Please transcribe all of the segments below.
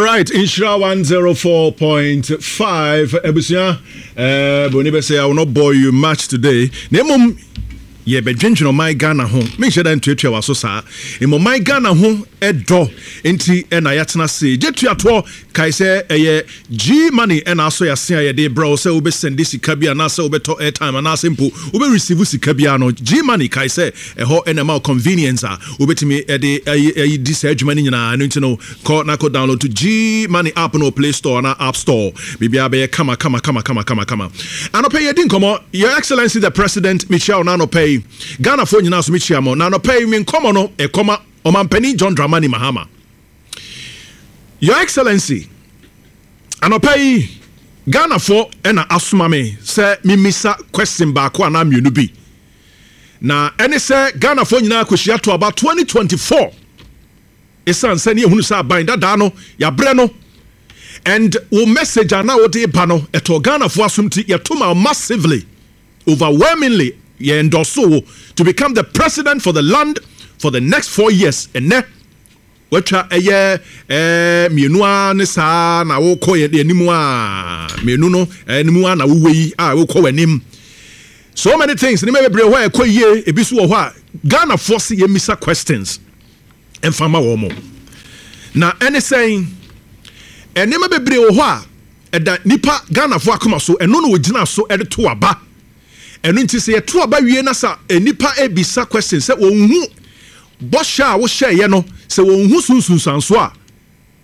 Alright, Nhyira 104.5 abusua eh, broni bɛ sɛ I will not bore you much today. Na mmom yɛbɛdwendwene ɔman Ghana ho. Menhyɛ da ntuatua w'aso saa. Mmom ɔman Ghana ho dɔ nti na yɛatena ase. Gye tuatoɔ kae sɛ ɛyɛ G money na asɔ yɛase a yɛde brɛ wo sɛ wobɛsɛnde sika bi anaasɛ wobɛtɔ airtime anaasɛ mpo wobɛ receive sika biara no. G money kae sɛ ɛhɔ na ɛma wo convenience a wobɛtumi de ayi di saa adwuma no nyinaa. Ɛno nti no kɔ na kɔ download to G money app no wɔ Play Store anaa App Store. Biribiara bɛyɛ kama kama kama kama kama kama. Anɔpa yi yɛdi nkɔmmɔ Your Excellency the President mekyia wo na anɔpa yi Ghanafoɔ nyinaa nso mekyia mo. Na anɔpa yi me nkɔmmɔ no ɛkɔma Ɔmampanin John Dramani Mahama. Your Excellency, anɔpa yi Ghanafoɔ na asoma me sɛ memmisa question baako anaa mmienu bi. Na ɛne sɛ Ghanafoɔ nyinaa kɔhyia to aba 2024 ɛsiane sɛ ne yɛhunu sɛ aban dadaa no yɛabrɛ no and wo message a na wode ba no ɛtɔɔ Ghanafoɔ asom nti yɛto ma massively, overwhelmingly yɛ endorse wo to become the president for the land for the next 4 years. Ɛnɛ watwa ɛyɛ mmienu ara ne saa na wokɔ yɛn anim a mmienu no anim a na wowɔ yi a wokɔ w'anim. So many things, nneɛma bebree hɔ a ɛkɔ yie, ebi so wɔ hɔ a Ghanafoɔ se yɛmmisa questions mfa ma wɔn mo. Na ɛne sɛn nneɛma bebree wɔ hɔ a ɛda nipa Ghanafoɔ akoma so, ɛno na wɔgyina so de to aba. Ɛno nti sɛ yɛto aba wie na sa nipa ebisa questions sɛ wɔn hu bɔhyɛ a wohyɛeɛ no, sɛ wɔn hu sunsunsanso a,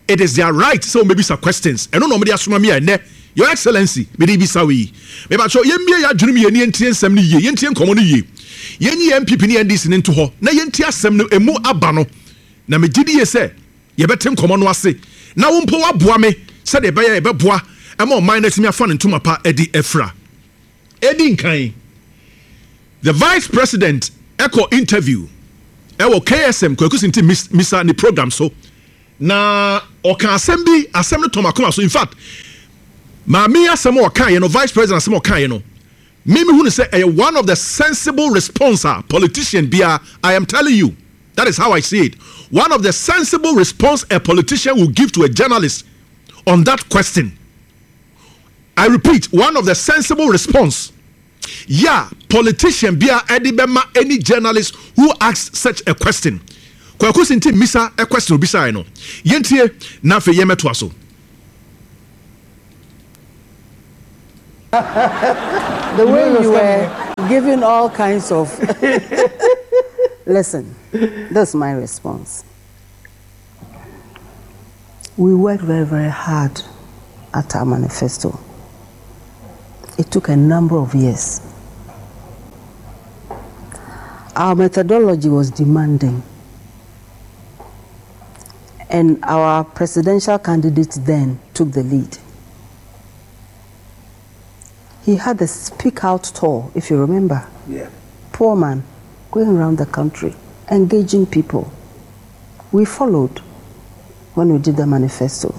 it is their right sɛ wɔn bɛbisa questions. Ɛno na wɔn de asoma mi a ɛnɛ, Your Excellency, mede bisa wo yi. Mebakyɛw, yɛmmie yɛ adwene mu yie ne yɛntie nsɛm no yie, yɛntie nkɔmmɔ no yie, yɛnyi yɛn NPP ne NDC no nto hɔ na yɛntie asɛm no emu aba no. Na megye di yie sɛ yɛbɛte nkɔmmɔ no ase na wo mpo woaboa me sɛdeɛ ɛbɛyɛ yɛbɛboa ma ɔman no atumi afa ne ntoma pa adi afira. Ɛdi nkan, the vice president ɛkɔ interview ɛwɔ KSM Kwaku Sinti Misa ne program so na ɔka asɛm bi. Asɛm no tɔm akoma so. In fact, maame asɛm a ɔkaeɛ no, vice president asɛm a ɔkaeɛ no, me mehu no sɛ ɛyɛ one of the sensible response a politician bia. I am telling you, that is how I see it, one of the sensible response a politician will give to a journalist on that question. I repeat, one of the sensible response, yeah, politician bia ɛde bɛma any journalist who asks such a question. Kwaku Sinti mmisa a question obisaeɛ no, yɛntie na afei yɛmmɛtoa so. The way you were giving all kinds of. Listen, that's my response. We worked very, very hard at our manifesto. It took a number of years. Our methodology was demanding. And our presidential candidate then took the lead. He had a speak out tour, if you remember. Poor man, going around the country, engaging people. We followed when we did the manifesto.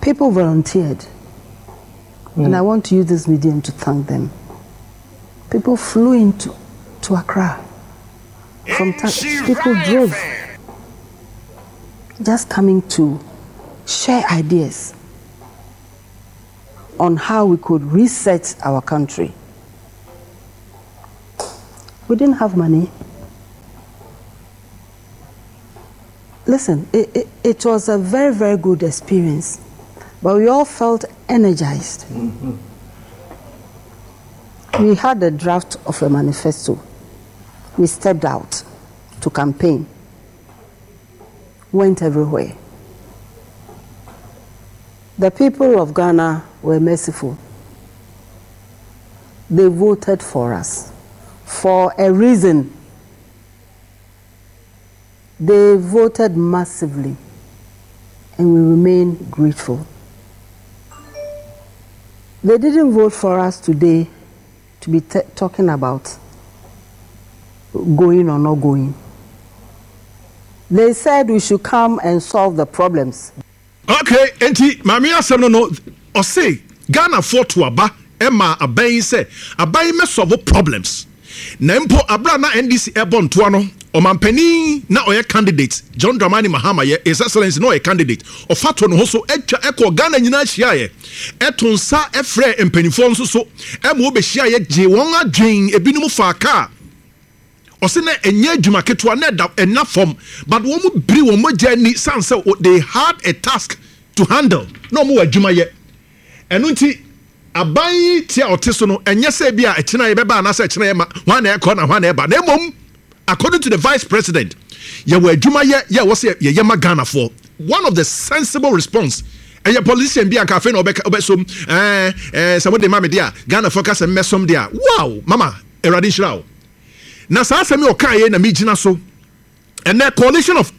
People volunteered. And I want to use this medium to thank them. People flew into to Accra. From people drove, just coming to share ideas on how we could reset our country. We didn't have money. Listen, it was a very, very good experience, but we all felt energized. We had a draft of a manifesto. We stepped out to campaign, went everywhere. The people of Ghana were merciful. They voted for us for a reason. They voted massively, and we remain grateful. They didn't vote for us today to be talking about going or not going. They said we should come and solve the problems. Okay, enti maame asɛm no, ɔse Ghanafoɔ to aba ɛma aban yi sɛ aban yi mɛsolve problems. Na mpo abere a na NDC ɛbɔ ntoa no, Ɔmanpanin na ɔyɛ candidate, John Dramani Mahama yɛ, His Excellency na ɔyɛ candidate, ɔfa to ne ho so atwa kɔɔ Ghana nyinaa hyiaeɛ, ɛto nsa frɛɛ mpanimfoɔ nso so ma wɔbɛhyiaeɛ gyee wɔn adwen, ebinom faa kaa. Ɔse na ɛnyɛ adwuma ketewa, na ɛda ɛnna fam, but wɔn biri wɔn mogya ani sane sɛ they had a task to handle, na wɔn wɔ adwuma yɛ. Ɛno nti, aban yi ti a ɔte so no, ɛnyɛ sɛ ebia ɛkyena yɛbɛba anaasɛ ɛkyena yɛmma, hwan na ɛkɔ na hwan na ɛba, na mmom, according to the vice president, yɛwɔ adwuma yɛ yɛ ɛwɔ sɛ yɛyɛ ma Ghanafoɔ. One of the sensible response, ɛyɛ politician bi a nka afei na ɔbɛka ɔbɛsom, ɛɛ ɛɛ sɛ mode ma me de a, Ghanafoɔ ka sɛ mmɛsom de a, wow, mama, Awurade nhyira wo. Na saa asɛm yi ɔkaeɛ yi na megyina so ɛnɛ, coalition of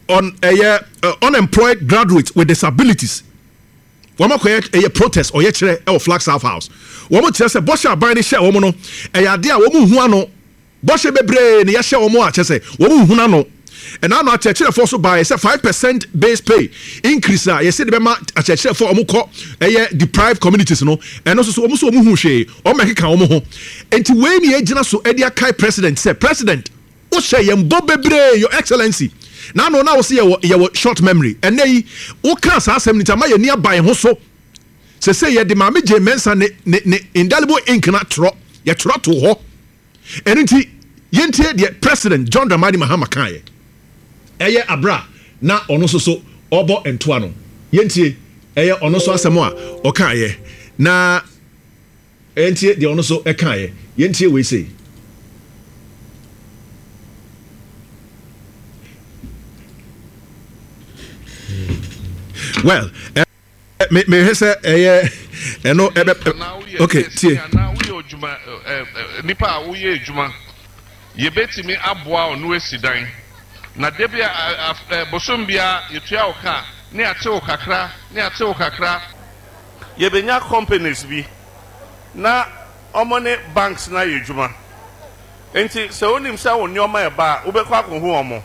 on ɛyɛ uh, unemployed graduates with disabilities, Wɔn akɔyɛ ɛyɛ protest ɔyɛkyerɛ ɛwɔ Flagstaff House. Wɔn kyerɛ sɛ bɔhyɛ aban no hyɛɛ wɔn no ɛyɛ adeɛ a wɔn nhu ano. Bɔhyɛ bebree na yɛahyɛ wɔn a kyerɛ sɛ wɔn nhunu ano. Ɛna ano akyerɛkyerɛfoɔ nso baeɛ sɛ 5% base pay increase a yɛse de bɛma akyerɛkyerɛfoɔ a wɔn kɔ ɛyɛ deprived communities no ɛno nso so wɔn nso wɔn hu hwee. Wɔn bɛkeka wɔn ho. Nti wei na yɛgyina so ɛde akae president sɛ president Wo hyɛ yɛn bɔ bebree your excellency na ano na wo se yɛwɔ yɛwɔ short memory ɛnɛ yi wo kaa saa asɛm no nti ama yɛn ani aba yɛn ho so sese yɛde maame Jane Mensah ne ne ne indelible ink no atorɔ yɛtwerɛ too hɔ ɛno nti yɛntie deɛ president John Dramani Mahama kaeɛ ɛyɛ abira na ɔno nso so ɔbɔ ntoa no yɛntie ɛyɛ ɔno nso asɛm a ɔkaeɛ na Yɛntie deɛ ɔno nso kaeɛ. Yɛntie wei sei. Well, eh, me mehwɛ sɛ ɛyɛ ɛno ɛbɛ okay tie. Anaa woyɛ odwuma nipa a woyɛ adwuma yɛbɛtumi aboa wo na woasi dan na da bi a bosom biara yɛtua wo ka ne ate wo kakra ne ate wo kakra. Yɛbɛnya companies bi na wɔn ne banks no ayɛ adwuma. Nti sɛ wonim sɛ wo nneɛma reba a, wobɛkɔ akɔhu wɔn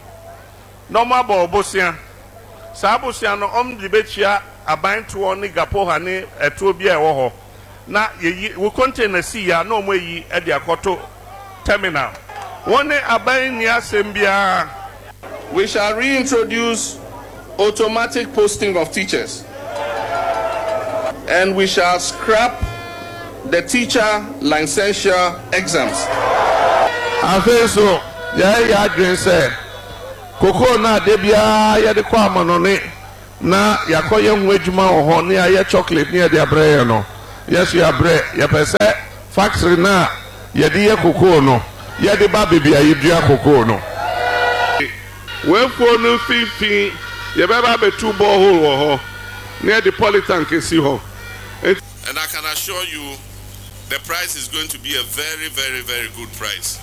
na wɔn abɔ wo bosea. Saa bosea no wɔn de bɛtua aban toɔ ne Gapoha ne ɛtoɔ biara a ɛwɔ hɔ. Na yɛyi wo container si yɛ a na wɔn ayi de akɔto terminal. Wo ne aban nni asɛm biara. We shall reintroduce automatic posting of teachers and we shall scrap the teacher licensure exams. Afei nso, yɛayɛ yɛn adwene sɛ kokoo no a da biara yɛde kɔ amanɔne na yɛakɔyɛ ho adwuma wɔ hɔ na yɛayɛ chocolate na yɛde abrɛ yɛn no, yɛn nso yɛabrɛ. Yɛpɛ sɛ factory no a yɛde yɛ kokoo no, yɛde ba baabi a yɛdua kokoo no. W'afuo no mfimfini yɛbɛba abɛtu borehole wɔ hɔ na yɛde polytank asi hɔ. Enti. And I can assure you the price is going to be a very very very good price.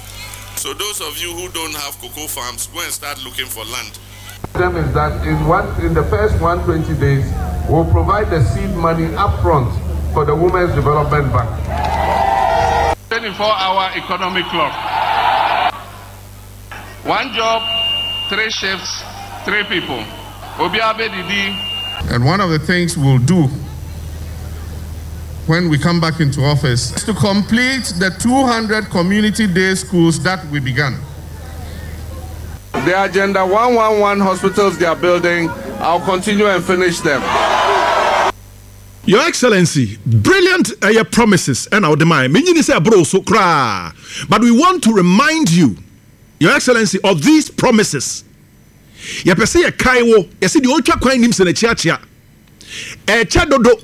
So those of you who don't have cocoa farms, go and start looking for land. Them is that in one in the first 120 days, we'll provide the seed money upfront for the Women's Development Bank. 24 hour economic clock. One job, three shifts, three people. Obiara bɛdidi. And one of the things we'll do when we come back into office is to complete the 200 community day schools that we began. The Agenda 111 hospitals they are building, I'll continue and finish them. Your Excellency, brilliant ɛyɛ promises ɛna wode mae. Menyini sɛ ɛboro so koraa. But we want to remind you, Your Excellency, of these promises. Yɛpɛ sɛ yɛkae wo, yɛse deɛ ɔtwa kwan nim sɛ n'akyi akyea. Ɛkyɛ dodo.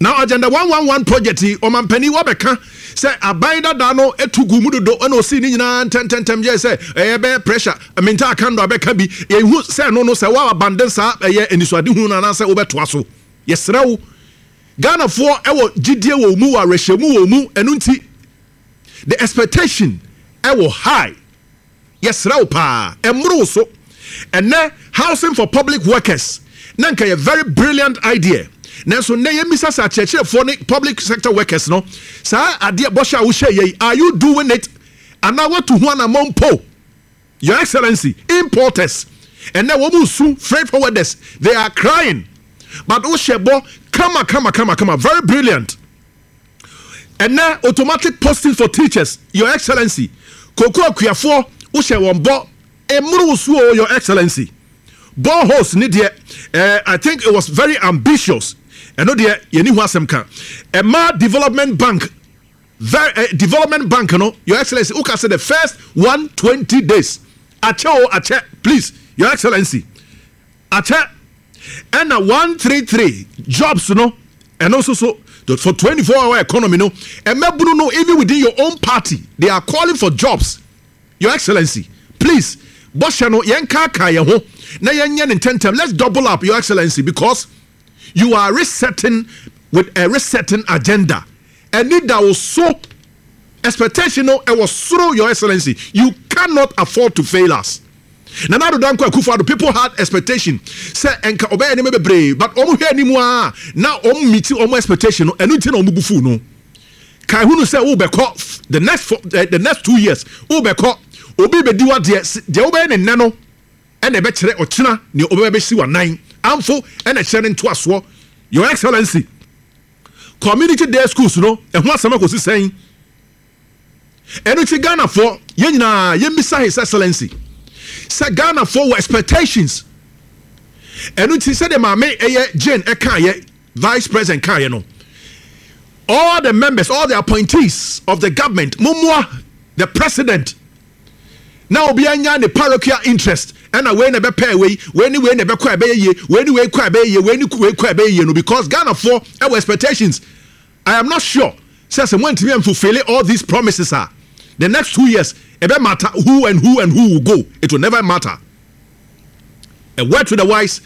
Now Agenda 111 project yi, ɔmampanin wabɛka sɛ aban dada no tu gu mu dodo ɛna ɔsii ne nyinaa ntɛntɛntɛm yɛ sɛ ɛyɛ bɛyɛ pressure minta akando abɛka bi. Yɛhu sɛ ɛno no sɛ woabandon saa ɛyɛ anisoadehu no anaasɛ wobɛtoa so. Yɛsrɛ wo, Ghanafoɔ wɔ gyidie wɔ wo mu, wɔ awerɛhyɛmu wɔ wo mu, ɛno nti the expectation ɛwɔ high. Yɛsrɛ wo paa, ɛmmoro wo so. Ɛnnɛ housing for public workers na nka yɛ very brilliant idea, nanso nnɛ yɛmmisa sɛ akyerɛkyerɛfoɔ ne public sector workers no, saa adeɛ bɔhyɛ a wohyɛɛ yɛ yi, are you doing it anaa woatu ho anammɔn mpo? Your Excellency, importers ɛnɛ wɔn resu, freight forwarders they are crying, but wohyɛ bɔ kama kama kama kama, very brilliant. Ɛnɛ automatic posting for teachers, Your Excellency, koko akuafoɔ Wohyɛ wɔn bɔ mmoro wo so o, Your Excellency. Boreholes ne deɛ, eh, I think it was very ambitious. Ɛno deɛ, yɛni ho asɛm ka. Ɛma Development Bank, very, eh, Development Bank no, Your Excellency, woka sɛ the first 120 days. Akyɛ o, akyɛ, please, Your Excellency. Akyɛ, ɛna 133 jobs no, ɛno nso so, for 24 hour economy no, ɛmɛbunu no, even within your own party, they are calling for jobs. Your Excellency, please, bɔhyɛ no yɛnkaakae yɛn ho na yɛnyɛ no ntɛmntɛm. Let's double up, Your Excellency, because you are resetting with a resetting agenda. Ɛni da wo so. Expectation no ɛwɔ soro, Your Excellency. You cannot afford to fail us. Nana Addo Dankwa Akufo-Addo, people had expectation sɛ ɛnka ɔbɛyɛ nneɛma bebree, but wɔn hwɛ anim a na wɔn meet wɔn expectation no, ɛno nti na wɔn bu fuw no. Kae hunu sɛ wobɛkɔ the next four, eh, the next 2 years wobɛkɔ, obi bɛdi wadeɛ. Deɛ wobɛyɛ ne nnɛ no ɛna ɛbɛkyerɛ ɔkyena nea wobɛbɛ bɛsi w'anan amfo ɛna ɛkyerɛ ne ntoasoɔ. Your Excellency, community day schools no ɛho asɛm akɔsi sɛn? Ɛno ti Ghanafoɔ yɛn nyinaa yɛmmisa His Excellency sɛ Ghanafoɔ wɔ expectations. Ɛno ti sɛdeɛ maame ɛyɛ Jane ɛkaayɛ, Vice President kaayɛ no, all the members, all the appointees of the government, mummoa the president na obi anya ne parochial interest, ɛna wei na ɛbɛpɛɛ wei, wei ne wei na ɛbɛkɔ a ɛbɛyɛ yie, wei ne wei kɔ a ɛbɛyɛ yie, wei ne wei kɔ a ɛbɛyɛ yie no, because Ghanafoɔ ɛwɔ expectations. I am not sure sɛ moantumi amfulfill all these promises a, the next 2 years ɛbɛ matter who and who and who will go. It will never matter. A word to the wise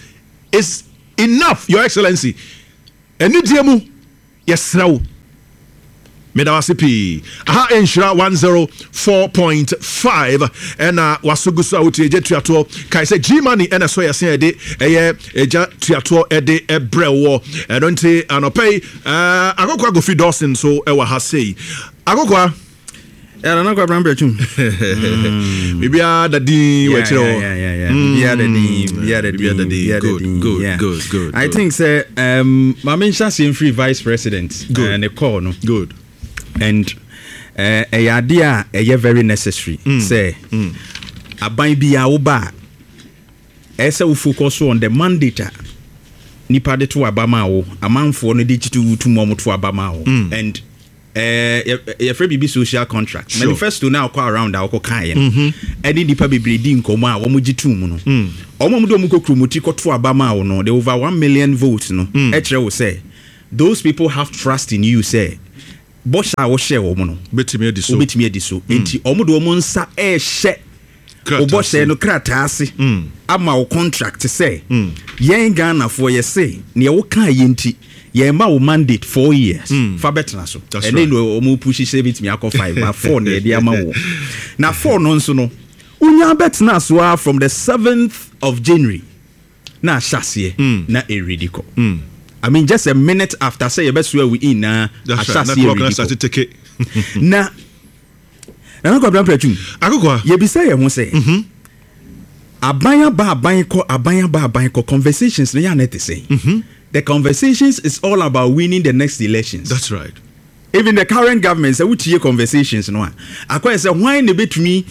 is enough, Your Excellency. Anidie mu yɛsrɛ wo, meda wase pii. Aha Nhyira 104.5 ɛna waso gu so a wotie Gya Tuatoɔ. Kae sɛ G Money ɛna ɛsɔ yɛse ɛde ɛyɛ Gya Tuatoɔ ɛde ɛbrɛ wɔ. Ɛno nti anɔpa yi Akokoa Kofi Dawson so ɛwɔ ha sei. Akokoa. Nana Kwabena Mprɛtwum. Biribiara da din wɔ akyerɛ hɔ. Biribiara da din, biribiara da din, biribiara da din. Good, good, good. I think sɛ maame nhyɛ aseɛ mfiri Vice President ne call no. Good. And ɛyɛ adeɛ a ɛyɛ very necessary sɛ aban bi a woba a ɛyɛ sɛ wo focus on the mandate a nipa de to aba ma wo, amanfoɔ no de tutu tu mu a wɔn to aba ma wo, and yɛfrɛ biribi social contract. Manifesto no a ɔkɔ around a ɔkɔ kaeɛ no ɛne nipa bebree di nkɔmmɔ a wɔn gye tum no, wɔn a wɔde wɔn kɔ kuromoti kɔto aba ma wo no, the over 1 million votes no, ɛkyerɛ wo sɛ those people have trust in you sɛ bɔhyɛ a wɔhyɛ wɔn no bɛtumi adi so. Wobɛtumi adi so, nti wɔn de wɔn nsa ɛrehyɛ krataa wobɔhyɛ no krataa ase ama wo contract sɛ yɛn Ghanafoɔ yɛse neɛ wokaa yɛ nti yɛn ma wo mandate 4 years fa bɛtena so. That's ɛne right. no ɔmo push sɛ bɛtumi akɔ five, but four na yɛde ama wo, na four no nso no wonya bɛtena so a from the 7th of January na ahyɛ aseɛ na ɛredi kɔ. I mean, just a minute after sɛ yɛbɛsoa we in na That's ahyɛ right. Na aseɛ clock na redi start kɔ. teke. Na Nana Kwabena Mprɛtwum, Akokoa. Yɛbisa yɛn ho sɛ aban aba, aban kɔ, aban aba, aban kɔ, conversations no yɛ ana te sɛn? The conversations is all about winning the next elections. That's right. Even the current government, sɛ wotie conversations no a, akɔyɛ sɛ hwan na ebɛtumi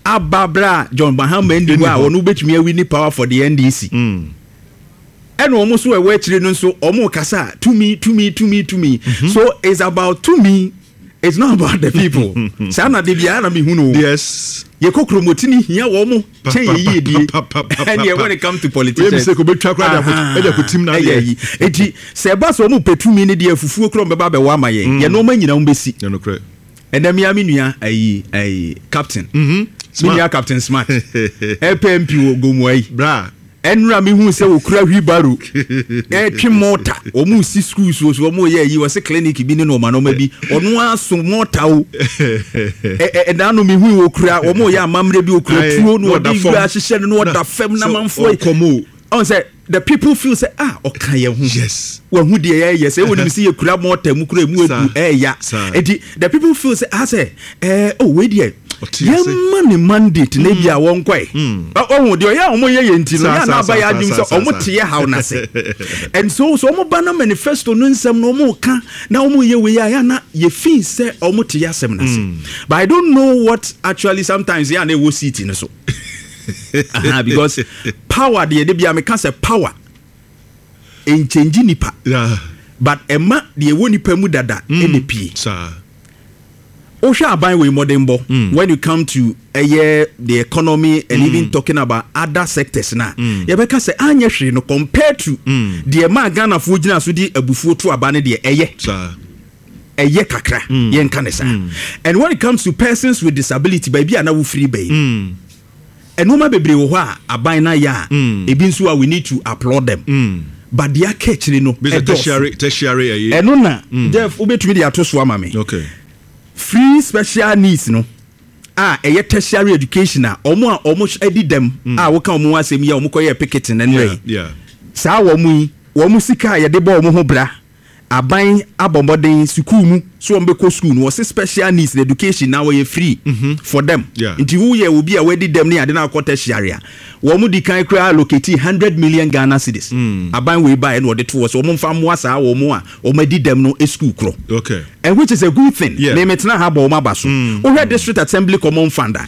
aba berɛ a John Mahama nni hɔ a ɔno wobɛtumi awin power for the NDC. Ɛna wɔn nso a ɛwɔ akyire no nso wɔn kasa a tumi, tumi, tumi, tumi. So it's about tumi, it's not about the people. Saa na de biara na mehu no. Yɛkɔ kuromoti ni hia wɔn mo kyɛn yɛ yie die. Ɛnneɛ when it comes to politicians, Wei mi sɛ kò bɛ twa kora de akɔ tim na ɛyɛ yi. Eti sɛ ɛba sɛ wɔn pɛ tumi ne deɛ, fufuo kura wɔn bɛba abɛwɔ ama yɛn, yɛn nneɛma nyinaa wɔn bɛsi. Ɛnokorɛ. Ɛnɛ mia me nua ayi captain, me nua Captain Smart ɛpɛ MP wɔ Gomua yi. Bra. Ɛnura mi hu sɛ okura wheelbarrow ɛtwe mɔta, wɔn si schools so, wɔn yɛ ayi, wɔsi clinic bi ne nneɛma nneɛma bi, ɔno aso mɔta o. ɛ ɛ ɛdan no mi hu okura, wɔn yɛ amammerɛ bi, okura tuo na ɔde wura ahyehyɛ no na ɔda fam na manfoɔ yi ɔkɔmɔ. Ɔn sɛ the people feel sɛ, ah, ɔka yɛn ho. Wahu deɛ yɛyɛ sɛ ɛwɔ nim sɛ yɛkura mɔta mu kura mu edu ɛɛya. Eti the people feel sɛ, ah, sɛ oh, wei deɛ Ɔte ase. Yɛmma ne mandate na ebia wɔnkɔe. Ɔhu deɛ ɔyɛ a wɔn yɛ yɛ nti no, Saa, yɛ a na saa, aba yɛ saa, adwene saa, sɛ saa, wɔn saa. te yɛ haw no ase. And so sɛ wɔn ba na manifesto no nsɛm no wɔn ka na wɔn yɛ wei a, yɛ a na yɛ feel sɛ wɔn te yɛ asɛm no ase. But I don't know what actually sometimes yɛ a na ɛwɔ seat no so. Aha, because power deɛ de bia meka sɛ power nkyɛngye nipa. Yeah. But ɛma deɛ ɛwɔ nipa mu dada ɛna pie. Saa. Wohwɛ aban wei mmɔdenbɔ when you come to ɛyɛ the economy and even talking about other sectors na yɛbɛka sɛ anyɛ hwee no compared to deɛ maa Ghanafoɔ gyina so de abufuo to aba no deɛ ɛyɛ. Saa. Ɛyɛ kakra yɛnka ne saa. And when it comes to persons with disability, baabi a na wofiri bɛyi, nneɛma bebree wɔ hɔ a aban no ayɛ a ebi nso a we need to applaud them. But deɛ aka akyire no Bisa ɛdɔɔso. Tertiary ɛyi. Ɛno na Jeff wobɛtumi de ato so ama me. Okay. Free special needs no a ɛyɛ tertiary education a ɔmo a ɔmo adi dɛm a woka ɔmo ho asɛm yi a ɔmo kɔyɛ picketing no nnɛ yi. Saa wɔn yi, wɔn sika a yɛde bɔ wɔn ho bra, aban abɔ mmɔden sukuu mu so wɔn bɛkɔ sukuu no, wɔse special needs na education na wɔyɛ free for them. Nti woyɛ obi a wadi dɛm ne ade na akɔ tertiary a, wɔn di kan koraa allocate 100 million Ghana cedis. Aban wei baeɛ na wɔde to hɔ sɛ wɔn mfa mmoa saa wɔn a wɔn adi dɛm no sukuu korɔ. And which is a good thing. Me metena ha bɔ wɔn aba so. Wohwɛ district assembly common fund a,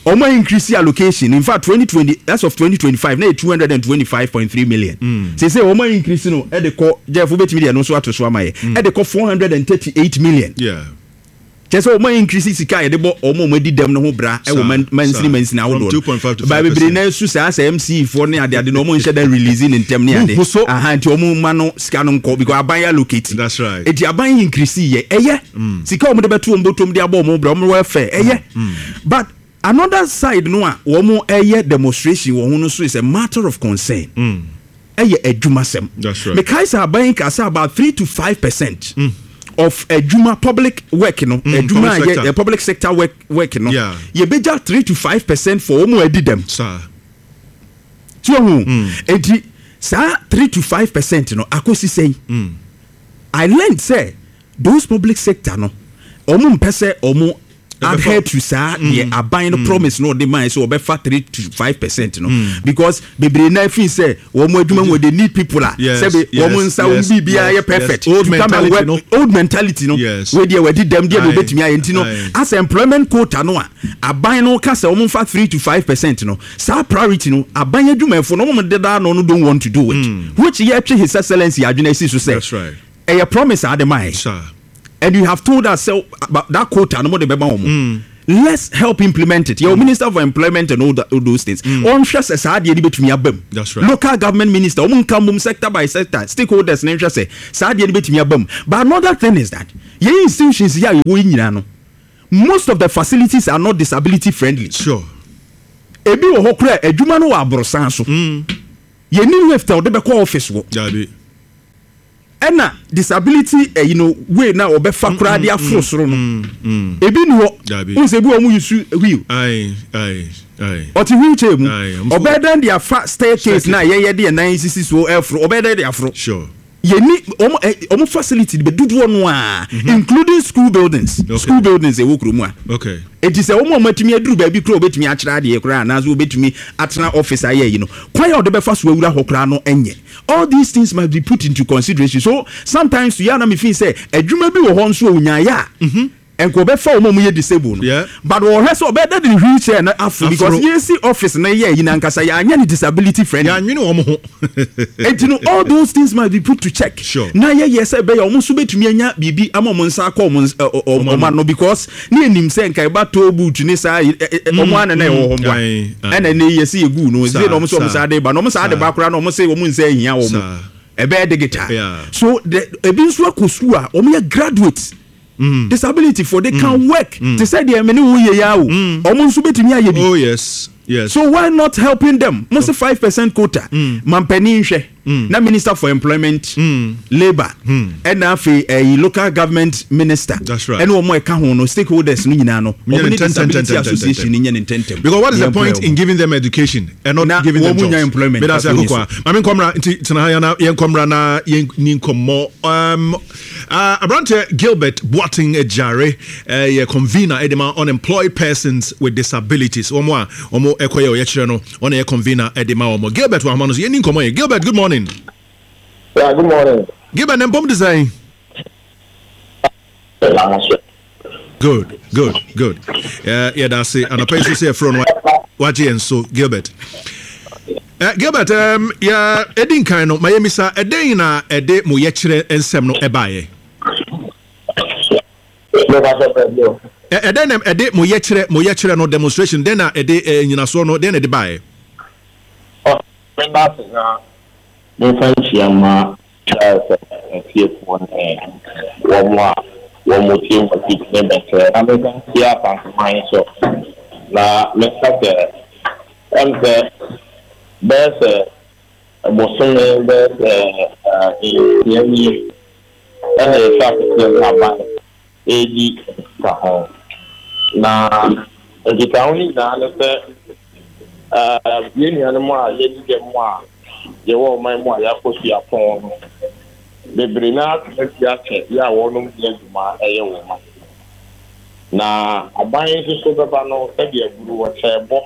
wɔn increase allocation. In fact, 2020, as of 2025, na yɛ 225.3 million. Sese wɔn increase no ɛde kɔ, Jeff wobɛtumi deɛ no nso ato so ama yɛ. Ɛde kɔ 438 million. Kyerɛ sɛ wɔn increase sika a yɛde bɔ wɔn a wɔn adi dɛm no ho bra ɛwɔ mansini mansini From ahodoɔ no. 2.5 to Ba bebree 5%. na nso saa sɛ MC foɔ ne adeade no wɔn nhyɛ da release ne ntɛm ne ade. Huhu so. Aha, nti wɔn ma no sika no nkɔ because aban allocate. That's right. Eti aban increase yɛ ɛyɛ. Sika wɔn de bɛto wɔn bɔtɔm de abɔ wɔn bra wɔn welfare ɛyɛ. But another side no a wɔn ɛyɛ demonstration wɔ ho no so is a matter of concern. Ɛyɛ adwumasɛm. That's right. Mekae sɛ aban ka sɛ about 3 to 5% of adwuma public work no, adwuma public a yɛ, sector. public sector work no, yɛbɛgya 3 to 5% for wɔn a adi dɛm. Saa. So hu, enti saa 3 to 5% no akosi sɛn? I learned sɛ those public sector no, wɔn mpɛ sɛ wɔn adhere to saa deɛ aban no promise no ɔde maa sɛ ɔbɛfa 3 to 5% no, because bebree na fi sɛ wɔn adwuma mu they need people a sɛbi wɔn nsa wɔn biribiara yɛ perfect. Old To come and mentality work, no. Old mentality no. Wei deɛ wɔadi dɛm deɛ na obetumi ayɛ nti no, as employment quota no a aban no ka sɛ wɔn nfa 3 to 5% no, saa priority no aban adwumayɛfo no wɔn deda ano no don't want to do it, which yɛ twe His Excellency adwene asi so sɛ That's right. ɛyɛ promise a ade maa yɛ. Sir. And you have told us sɛ that quota no mo de bɛma wɔn. Let's help implement it. Your minister for employment and all those things. Ɔnhwɛ sɛ saa adeɛ no bɛtumi aba mu. That's right. Local government minister, wɔn nka mbom sector by sector, stakeholders ne nhwɛ sɛ saa adeɛ no bɛtumi aba mu. But another thing is that yɛn institutions yi a yɛwɔ yi nyinaa no, most of the facilities are not disability friendly. Ebi wɔ hɔ koraa adwuma no wɔ aborosan so. Yɛnni lift a wɔde bɛkɔ office wɔ. Dabi. Ɛna disability ɛyi no way na ɔbɛfa koraa de aforo soro no, ebi ni hɔ. Dabi. N sɛ ebi wɔ ɔmo use wheel. Aye, aye, aye. Ɔte wheelchair mu. Aye, ɔmo so- Ɔbɛyɛ dɛn de afa staircase na yɛyɛ de yɛn nan sisi so ɛforo? Ɔbɛyɛ dɛn de aforo? Yɛni ɔmo ɛ ɔmo facility bɛ dodoɔ no a, including school buildings. School buildings ɛwɔ kurom a. Eti sɛ wɔn a wɔatumi aduru baabi koraa a wɔbɛtumi akyerɛ adeɛ koraa anaasɛ wɔbɛtumi atena office ayɛ yi no, kwan a wɔde bɛfa so awura hɔ koraa no nyɛ. All these things must be put into consideration. So sometimes yɛ a na me feel sɛ adwuma bi wɔ hɔ nso a onyaeɛ a, nka ɔbɛfa wɔn a wɔyɛ disabled no. But ɔhwɛ sɛ ɔbɛyɛ dɛ de ne wheelchair no aforo because Aforo. yɛsi office no yɛ yi no ankasa yɛanyɛ no disability friendly. Yɛanwene wɔn ho. Enti no all those things must be put to check. Na yɛyɛ sɛ ɛbɛyɛ wɔn nso bɛtumi anya biribi ama wɔn nsa akɔ wɔn wɔn ano because ne yɛnim sɛ nka ɛba toll booth ne saa wɔn ana na ɛwɔ hɔ mboa. Ɛna ɛnɛ yi yɛsi yɛgu no sɛ na wɔn sɛ wɔn saa de ba na wɔn saa de ba koraa na wɔn sɛ wɔn nsa ahia wɔn. Ɛbɛyɛ digital. So the ebi nso akɔ sukuu a wɔn yɛ graduates. Disability for they can work. Te sɛ deɛ me ne wo yɛ ya o. Wɔn nso bɛtumi ayɛ bi. Oh yes, yes. So why not helping them? Mo se 5% quota. Mampanin hwɛ. Na Minister for Employment, Labour, ɛna afei ɛyi Local Government Minister, That's right. ɛne wɔn a ɛka ho no, stakeholders no nyinaa no, Nyɛ wɔn no ne ntɛntɛm, Disability ntɛntɛm, Association ntɛntɛm. no nyɛ no ntɛntɛm. Because what is Na the point yɛmploy in wɔn. giving them education and not Na giving them wɔn jobs? nya employment Meda ase papa ni akokwa. Maame nkɔmra nti tena ha ya na yɛn nkɔmra na yɛn ni nkɔmmɔ. Um, uh, aberanteɛ Gilbert Boateng Agyare eh, yɛ convener ɛde ma unemployed persons with disabilities. Wɔn a wɔn ɛkɔyɛ ɔyɛkyerɛ no, wɔn na yɛ convener ɛde ma wɔn. Gilbert wɔ ahoma no so yɛn ni nkɔmmɔ yɛ. Gilbert, good morning. Yeah, good morning. Gilbert, ne mpɔm de sɛn? Good, good, good. Uh, yɛda ase anɔpa yi so sɛ yɛfrɛ no wagye yɛn so Gilbert. Uh, Gilbert, um, yɛ ɛdi nkan no ma yɛmisa ɛdɛn na ɛde mo yɛkyerɛ nsɛm no ɛbaeɛ? Ɛdɛn na ɛde mo yɛkyerɛ mo yɛkyerɛ no demonstration dɛn na ɛde nyinasoɔ no dɛn na ɛde baeɛ? Memfa nkyia mma Charles atiefoɔ ne wɔn a wɔtie wɔn akyi ne bɛkyerɛ na mensan nkyia Asanteman nso na menka sɛ ɛm sɛ bɛyɛ sɛ bosome bɛyɛ sɛ nsia nie ɛna yɛhyɛ aseɛ ne aban redi nkitaho. Na nkitaho no nyinaa ne sɛ, yɛn nuanom a yɛadi dɛm a yɛwɔ ɔman mu a yɛakɔ suapɔn no, bebree no ara tena fie akyɛ yɛ a wɔnom nni adwuma yɛ wɔ man mu. Na aban nso so bɛba no sɛdeɛ aburu wɔkyɛɛ bɔ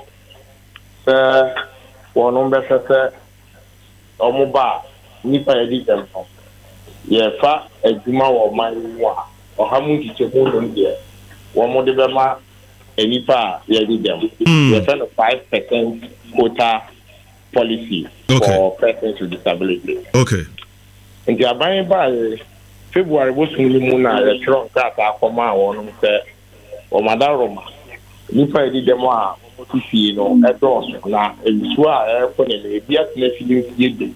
sɛ wɔnom bɛhwɛ sɛ wɔba a, nnipa a yɛadi dɛm no, yɛfa adwuma wɔ ɔman yi mu a, ɔha mu nkyekyɛmu nnum deɛ, wɔde bɛma nnipa a yɛadi dɛm. Yɛfrɛ no 5% quota policy for persons with disability. Nti aban yi baeɛ February bosom no mu na yɛtwerɛ nkrataa kɔmaa wɔnom sɛ Wɔ Madaroma, nnipa a edi dɛm a wɔte fie no dɔɔso, na nsu a ɛrekɔ n'anim, ebi atena fie mfeɛ du,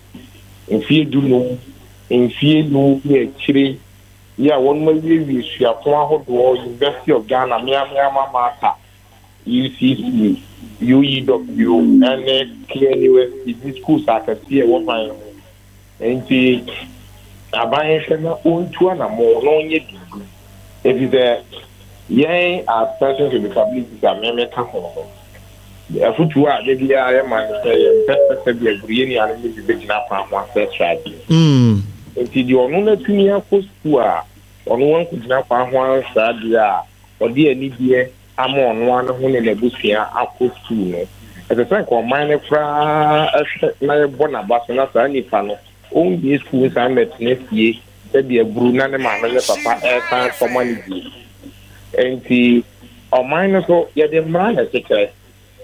mfeɛ dunum, mfeɛ num ne akyire yi a wɔnom awiewie suapɔn ahodoɔ, University of Ghana, me ara me alma mater, UCC, UEW ne KNUST ne schools akɛseɛ a ɛwɔ man mu. Enti aban nhwɛ na ɔntu anamɔn na ɔnyɛ biribi efisɛ yɛn as persons with disabilities a me meka ho no, afotuo a da biara yɛma ne sɛ yɛmpɛ sɛ sɛbi aguru yɛn nuanom no bi bɛgyina kwan ho asrɛsrɛ adeɛ. Enti deɛ ɔno no atumi akɔ sukuu a ɔno wankɔgyina kwan ho ansrɛ adeɛ a ɔde anigyeɛ ama ɔno ara ne ho ne n'abusua akɔ sukuu no, ɛsɛ sɛ nka ɔman no koraa hwɛ na yɛbɔ n'aba so na saa nipa no ɔnwie sukuu nsan mmɛtena fie sɛdeɛ aburu na ne maame ne papa resan kɔma no bio. Enti ɔman no so yɛde mmara na ɛkyekyerɛ.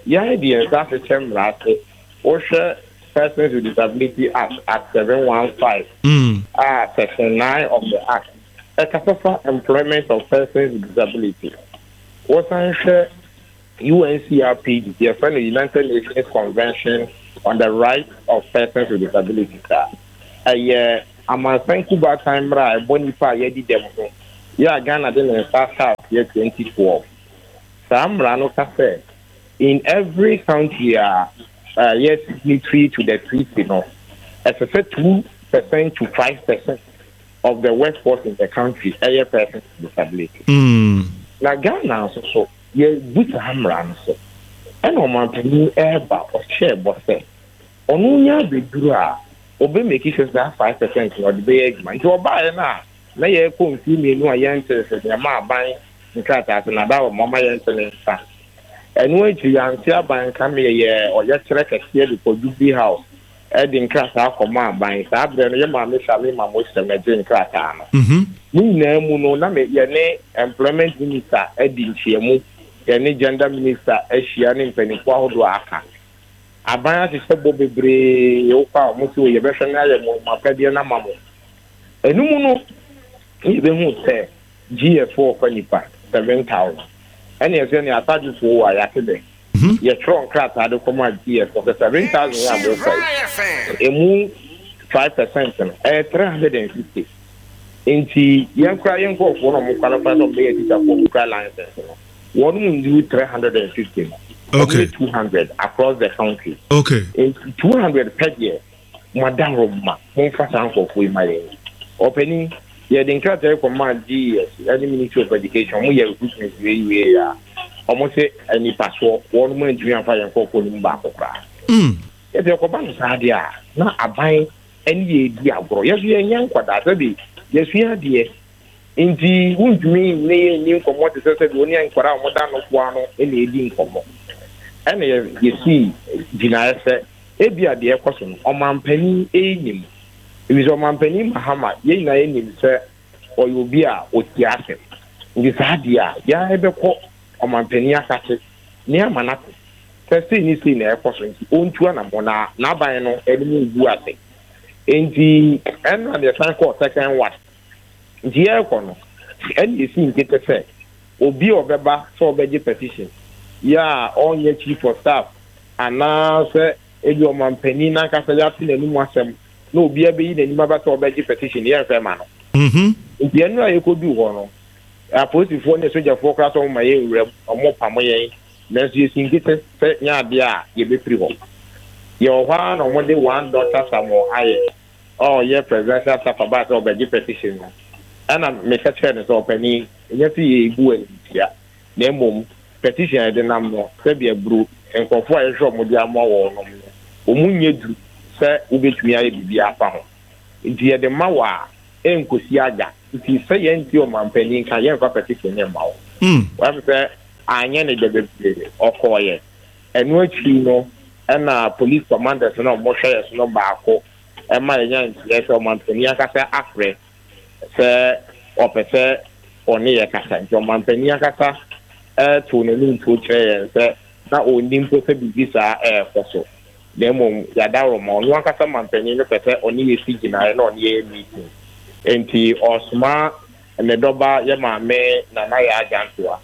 Yɛn de yɛn nsa ahyehyɛ mmara ase. Wohwɛ Persons with Disability Act, Act 715, a Section 9 of the Act, ɛkasa fa employment of persons with disability. Wosan hwɛ UNCRPD, yɛfrɛ no United Nations Convention on the Rights of Persons with Disabilities a, ɛyɛ amansan kubaatan mmara a ɛbɔ nnipa a yɛadi dɛm ho yɛ a Ghana de ne nsa ahyɛ aseɛ 2012. Saa mmara no ka sɛ in every country a ɛyɛ signatory to the treaty no, ɛsɛ sɛ 2% to 5% of the workforce in the country ɛyɛ persons with disability. Na Ghana nso so yɛbu saa mmara no so. Ɛna ɔmanpanin ɛreba ɔhyɛɛ bɔ sɛ ɔno nya abɛduru a ɔbɛ make sure saa 5% no ɔde bɛyɛ adwuma. Nti ɔbaeɛ no a na yɛrekɔ mfeɛ mmienu a yɛnte sɛ deɛ ma aban nkrataa so na da wɔ ma yɛnte ne nsa. Ɛno akyi yɛante aban nka ma yɛyɛɛ ɔyɛkyerɛ kɛseɛ de kɔ Jubilee House de nkrataa kɔmaa aban. Saa berɛ no, yɛn maame Shalima Mosem na gyee nkrataa no. Ne nyinaa mu no, na me, yɛne Employment Minister adi nhyiamu, yɛne Gender Minister ahyia ne mpanimfoɔ ahodoɔ a aka. Aban ahyehyɛ bɔ bebree, wokɔ a wɔn se o yɛbɛhwɛ na yɛayɛ mo mo apɛdeɛ no ama mo. Ɛno mu no, na yɛbɛhu sɛ GF ɔfa nnipa 7,000. Ɛne ɛsɛ ne asadwofoɔ o a yɛate dɛ. Yɛtwerɛ nkrataa de kɔmaa GF sɛ 7,000 yi a mofa yi, ɛmu 5% no, ɛyɛ 350. Nti yɛn koraa yɛn nkurɔfoɔ na wɔn qualify sɛ wɔbɛyɛ atikyafoɔ wɔn kura license no, wɔn mu nnuru 350 no. Wɔn yɛ 200 across the country. Nti 200 pɛ deɛ. Mo adaworoma, momfa saa nkorɔfoɔ yi ma yɛn. Ɔpanin, yɛde nkrataa yi kɔmaa GES ne Ministry of Education, wɔyɛɛ recruitment wei wieeɛ a, wɔse anipasoɔ, wɔnom antumi amfa yɛn nkorɔfoɔ no mu baako koraa. Yɛse ɛkɔba no saa deɛ a, na aban ne yɛn redi agorɔ. Yɛn nso yɛnyɛ nkwadaa, sɛbe yɛasua adeɛ, nti wontumi ne yɛn nni nkɔmmɔ te sɛ sɛdeɛ wo ne nkwadaa a wɔda nofoa ano na ɛredi nkɔmmɔ. Ɛna yɛsii gyinaeɛ sɛ Ebia deɛ ɛrekɔ so no, ɔmanpanin nnim. Efisɛ ɔmanpanin Mahama, yɛn nyinaa yɛnim sɛ ɔyɛ obi a ɔtie asɛm. Nti saa deɛ a, yɛn ara yɛbɛkɔ ɔmanpanin akase na yɛama no ate sɛ sei ne sei na ɛrekɔ so nti ɔntu anammɔn na n'aban no anim ngu ase. Nti ɛnna na yɛsan kɔɔ second one. Nti yɛrekɔ no, ɛnna yɛsii nkete sɛ obi a ɔbɛba sɛ ɔbɛgye petition yɛ a ɔnyɛ chief of staff Anaasɛ ebia ɔmanpanin no ankasa yɛate n'anom asɛm na obiara bɛyi n'anim aba sɛ ɔbɛgye petition no, yɛmfa mma no. Nti ɛno a yɛkɔduu hɔ no, apolisifoɔ ne asogyafoɔ koraa sɛ wɔmma yɛnwura mu, wɔpamo yɛn, nanso yɛsi nkete sɛ nyɛ adeɛ a yɛbɛfiri hɔ. Yɛwɔ hɔ ara na wɔde one Doctor Samuel Ayɛ a ɔyɛ Presidential Staffer baa sɛ ɔbɛgye petition no, ɛna meka kyerɛɛ no sɛ, Ɔpanin, ɛnyɛ sɛ yɛrebu wo animtia, na mmom petition a yɛde nam no, sɛdeɛ aburo nkurɔfoɔ a yɛhwehwɛ wɔn de ama wɔn nom no, wɔn nyɛ duru sɛ wobɛtumi ayɛ biribi afa ho. Nti yɛde ma wo a, ɛnkɔsi aga. Nti sɛ yɛnte ɔmanpanin nka, yɛmfa petition no mma wo. Woahu sɛ anyɛ ne dɛ bebree, ɔkɔeɛ. Ɛno akyiri no, ɛna police commanders no a wɔhwɛ yɛn so no baako ma yɛnya nteɛ sɛ ɔmanpanin ankasa afrɛ sɛ ɔpɛ sɛ ɔne yɛn kasa. Nti ɔmanpanin ankasa too n'anim tuo kyerɛɛ yɛn sɛ na ɔnnim mpo sɛ biribi saa rekɔ so, na mmom yɛadaworoma. Ɔno ankasa manpanin no pɛ sɛ ɔne yɛn si gyinaeɛ na ɔne yɛn yɛ meeting. Nti ɔresoma ne dɔba yɛn maame Nana Yaa Gyantoa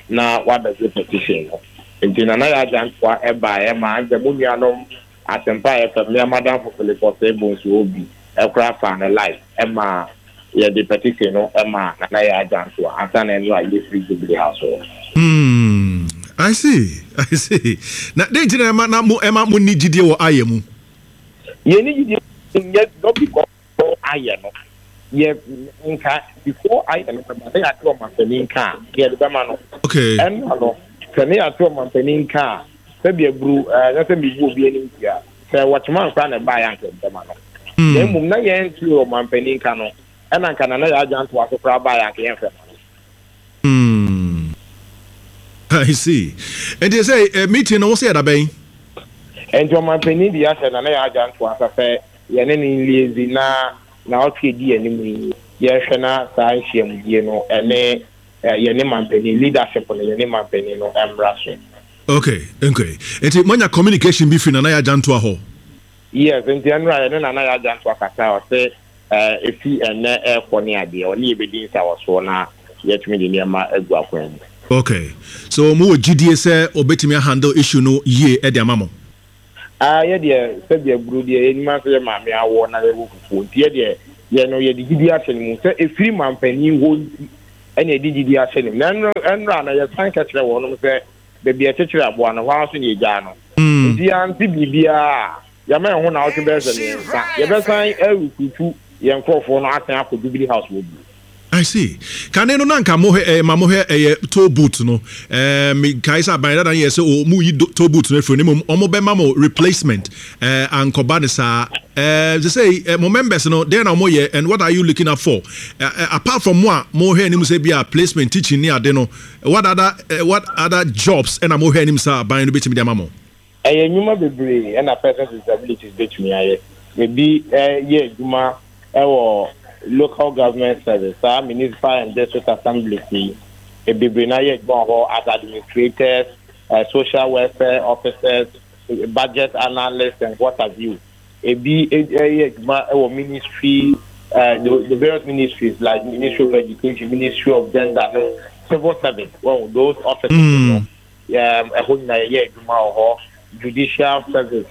na wabɛgye petition no. Nti Nana Yaa Gyantoa baeɛ maa nkyɛ mo nuanom Asempa FM ne m'adamfo Philip Osei Bonsu Obi koraa faa no live ma yɛde petition no maa Nana Yaa Gyantoa ansa na ɛno a yɛfiri Jubilee House hɔ. Hmm, I see, I see. Na dɛn nti na ɛma na mo ɛma mo nni gyidie wɔ ayɛ mu? Yɛnni gyidie nyɛ not because ayɛ no yɛ nka before ayɛ no bɛba na yɛate ɔmampanin nka a yɛde bɛma no. Okay. Ɛnna no sɛ ne yɛate ɔmampanin nka a sɛbi aburu ɛnyɛ sɛ mebu obi anim tia sɛ wɔkyema nkora na ɛbaeɛ anka yɛde bɛma no. Na mmom na yɛnte ɔmampanin nka no ɛna nka Nana Yaa Gyantoa so koraa baeɛ anka yɛmfɛ ma no. Hmm. I see. Nti sɛ eh, meeting no wo sɛ yɛda bɛn? Nti ɔmampanin de ahyɛ Nana Yaa Gyantoa nsa sɛ yɛne no nliaise na naawɔtwe a ɛdi anim yi yɛnhwɛ na saa nhyiamudie no ɛne yɛne mampanin, leadership no yɛne mampanin no mmra so. Okay, okay. Nti moanya communication bi firi Nana Yaa Gyantoa hɔ? Yes, nti ɛnora yɛne Nana Yaa Gyantoa kasae, ɔse ɛfi ɛnnɛ ɛrekɔ ne adeɛ, ɔne yɛ bɛdi nsawɔsoɔ na yɛatumi de nneɛma agu akwan mu. Okay, so mowɔ gyidie sɛ ɔbɛtumi ahandle issue no yie de ama mo? Ah yɛ deɛ sɛdeɛ aburo deɛ yɛnim ara sɛ yɛ maame awɔ na yɛwɔ fufuo nti yɛ deɛ yɛ no yɛde gyidie ahyɛ ne mu sɛ ɛfiri mampanin hɔ nti ɛna yɛde gyidie ahyɛ ne mu na ɛnora na yɛsan ka kyerɛ wɔnom sɛ baabi a yɛkyekyere aboa no hɔ ara nso na yɛgyaa no nti yɛante biribiara a yɛama yɛn ho naawɔtwe bɛyɛ sɛ mmiɛnsa yɛbɛsan arekrutu yɛn nkorɔfoɔ no asan akɔ Jubilee House hɔ bio. I see. Kane no na nka mo hwɛ ɛyɛ ma mo hwɛ ɛyɛ toll booth no. Ɛɛ me kae sɛ aban dada no yɛ sɛ o mo yi toll booth no afiri no mmom wɔn bɛma mo replacement. Ɛɛ ankɔba ne saa. Ɛɛ sɛ sɛ eh, mo members no deɛ na wɔn yɛ and what are you looking up for? Ɛɛ apart from mo a mo hwɛ anim sɛ bi a placement teaching ne ade no what other what other jobs ɛna mo hwɛ anim sɛ aban no betumi de ama mo? Ɛyɛ nnwuma bebree na persons with disabilities betumi ayɛ. Ebi yɛ adwuma wɔ local government service, saa municipal and district assemblies yi, bebree no ara yɛ adwuma wɔ hɔ as administrators, social welfare officers, budget analysts and what have you. Ebi yɛ adwuma wɔ ministry, the various ministries like Ministry of Education, Ministry of Gender no, civil service, well, those offices no. Ɛhɔ nyinaa yɛyɛ adwuma wɔ hɔ. Judicial service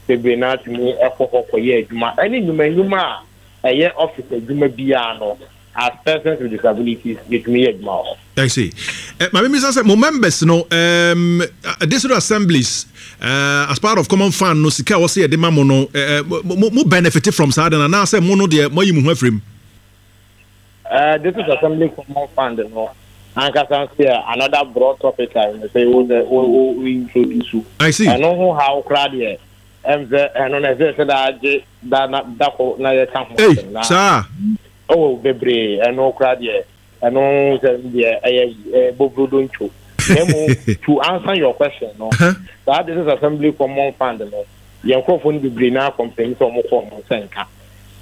bebree no ara tumi kɔ hɔ kɔyɛ adwuma. Ɛne nnwuma nnwuma a ɛyɛ office adwuma biara no, as persons with disabilities, yɛtumi yɛ adwuma wɔ hɔ. I see. Eh, ma memmisa sɛ mo members no um, district assemblies uh, as part of common fund no sika a wɔsɛ yɛde ma mo no uh, mo, mo benefit from saa de no anaasɛ mo no deɛ moayi mo ho afiri mu? District Assembly Common Fund no ankasa nso yɛ another broad topic a ɛsɛ sɛ wo sɛ wo wo introduce. I see. Ɛno ho haw koraa deɛ ɛm sɛ ɛno na ɛsɛ sɛ daa gye da na da ko na yɛka ho Ei, asɛm na saa. oh bebree ɛno koraa deɛ ɛno sɛ deɛ ɛyɛ ɛyɛ bobrodo ntwo. Na mmom to answer your question no, saa District Assembly Common Fund no yɛn nkurɔfoɔ no bebree naa complain sɛ wɔn kɔ wɔn nsa nka.